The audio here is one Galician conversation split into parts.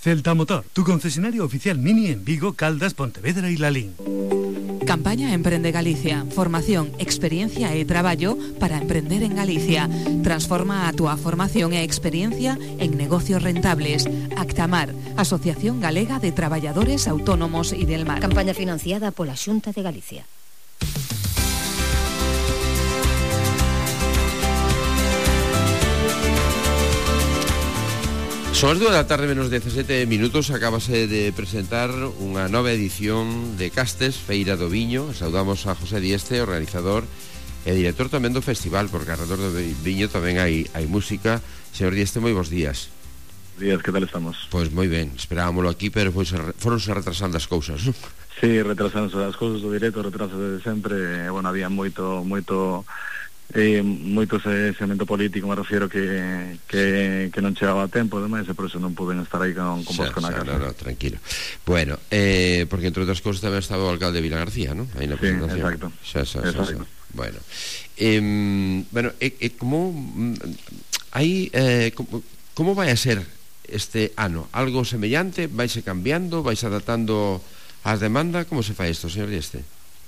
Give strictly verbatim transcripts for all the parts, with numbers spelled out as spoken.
Celta Motor, tu concesionario oficial Mini en Vigo, Caldas, Pontevedra y Lalín. Campaña Emprende Galicia. Formación, experiencia e traballo para emprender en Galicia. Transforma a túa formación e experiencia en negocios rentables. Actamar, Asociación Galega de Traballadores Autónomos y del Mar. Campaña financiada pola Xunta de Galicia. Son as dúas da tarde menos dezasete minutos. Acabase de presentar unha nova edición de Castes, Feira do Viño. Saudamos a José Dieste, organizador e director tamén do festival, porque alrededor do viño tamén hai, hai música. Señor Dieste, moi bons días. Días, que tal estamos? Pois moi ben, esperábamolo aquí, pero pois foronse retrasando as cousas, non? Sí, retrasándose as cousas do directo, retraso de sempre. Bueno, había moito, moito... Eh, moito ese segmento político, me refiero que, que, que non chegaba a tempo, ademais, e por eso non puden estar aí con, con vos con a casa. No, no, tranquilo. Bueno, eh, porque entre outras cousas tamén estaba o alcalde de Vila García, ¿no? Aí na sí, presentación. Exacto. Xa, xa, xa, exacto. xa. Bueno, eh, bueno, e, e como aí eh, como, como vai a ser este ano? Algo semellante? Vaise cambiando? Vais adaptando as demandas? Como se fai isto, señor Dieste?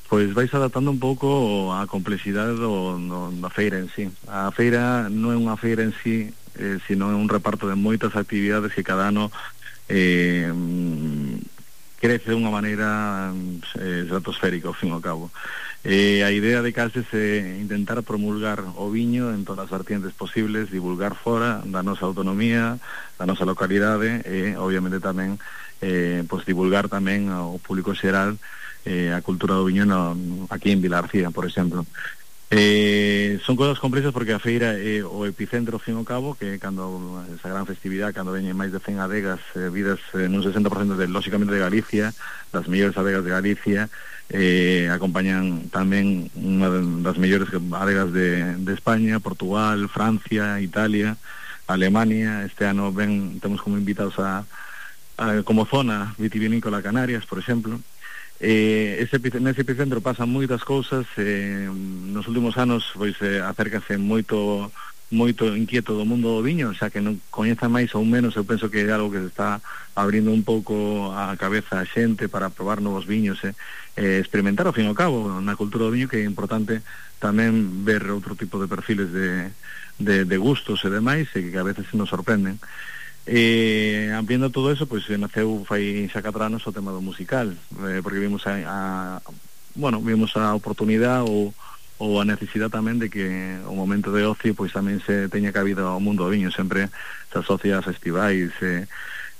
Pois vais adaptando un pouco a complexidade do, do, da feira en sí. A feira non é unha feira en sí, eh, sino é un reparto de moitas actividades que cada ano eh, crece de unha maneira eh, estratosférica, ao fin e ao cabo. Eh, a idea de Castes é intentar promulgar o viño en todas as vertientes posibles, divulgar fora da nosa autonomía, da nosa localidade e, obviamente, tamén eh, pois divulgar tamén ao público xeral Eh, a cultura do viño no, aquí en Vila García, por exemplo. Eh, son cosas complexas porque a feira é o epicentro, ao fin e ao cabo, que cando esa gran festividade, cando veñen máis de cen adegas eh, vidas eh, nun sesenta por cento de, lóxicamente, de Galicia, das mellores adegas de Galicia, eh, acompañan tamén unha das mellores adegas de, de España, Portugal, Francia, Italia, Alemania. Este ano ven, temos como invitados a, a como zona vitivinícola Canarias, por exemplo. Eh, ese, nese epicentro pasan moitas cousas. Eh, nos últimos anos pois eh, acércase moito moito inquieto do mundo do viño, xa que non coñeza máis ou menos. Eu penso que é algo que se está abrindo un pouco a cabeza a xente para probar novos viños, eh, eh, experimentar ao fin e ao cabo na cultura do viño, que é importante tamén ver outro tipo de perfiles de, de, de gustos e demais, e que a veces nos sorprenden. Eh, ampliando todo eso, pois pues, naceu fai xa catro anos o tema do musical, eh, porque vimos a, a bueno, vimos a oportunidade ou, ou a necesidade tamén de que o momento de ocio pois pues, tamén se teña cabida ao mundo do viño. Sempre se asocia a festivais, eh,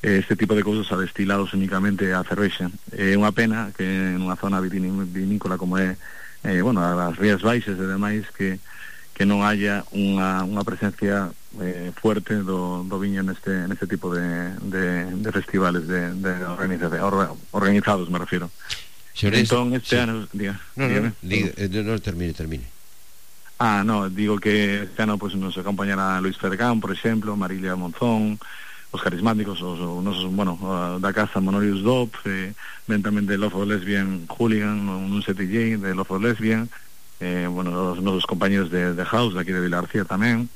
este tipo de cousas a destilados únicamente a cervexa. É eh, unha pena que nunha zona vinícola como é eh, bueno, as Rías Baixas e demais, que que non haya unha, unha presencia eh, fuerte do, do viño neste, neste tipo de, de, de festivales de, de organizados, me refiero. Señores, entón, este sí. ano... Diga, no, no, diga, no, no, termine, termine. Ah, no, digo que este ano pues, nos acompañará Luis Fergán, por exemplo, Marilia Monzón, os carismáticos, os, os nosos, bueno, da casa Monorius Dop, eh, ven tamén de Love of Lesbian Hooligan, un set D J de Love of Lesbian, Eh, bueno, os nosos compañeros de, de House de aquí de Vila García tamén,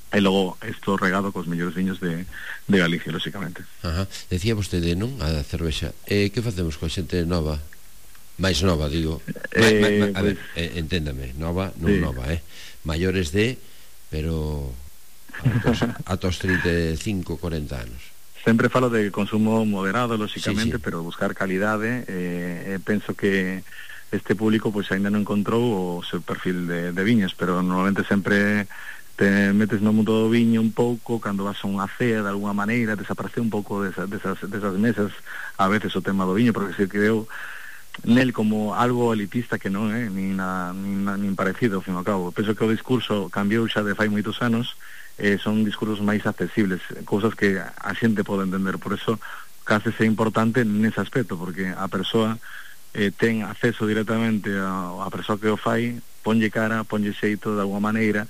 e logo isto regado cos mellores viños de, de Galicia, lóxicamente. Ajá. Decía vostede, non? A cervexa. Eh, que facemos coa xente nova? máis nova, digo. Eh, ma, ma, a pues, ver, eh, enténdame, nova, non sí. nova, eh? Maiores de, pero ata os trinta e cinco, corenta anos. Sempre falo de consumo moderado, lóxicamente, sí, sí. pero buscar calidade. Eh, eh, penso que este público pois aínda non encontrou o seu perfil de, de viños, pero normalmente sempre te metes no mundo do viño un pouco cando vas a unha cea, de alguna maneira desaparece un pouco desas, desas, desas mesas a veces o tema do viño, porque se creou nel como algo elitista que non é, nin, na, nin, na, nin parecido, ao fin e ao cabo. Penso que o discurso cambiou xa de fai moitos anos, eh, son discursos máis accesibles, cousas que a xente pode entender, por eso case é importante nese aspecto, porque a persoa eh, ten acceso directamente a, a persoa que o fai, ponlle cara, ponlle xeito de alguma maneira,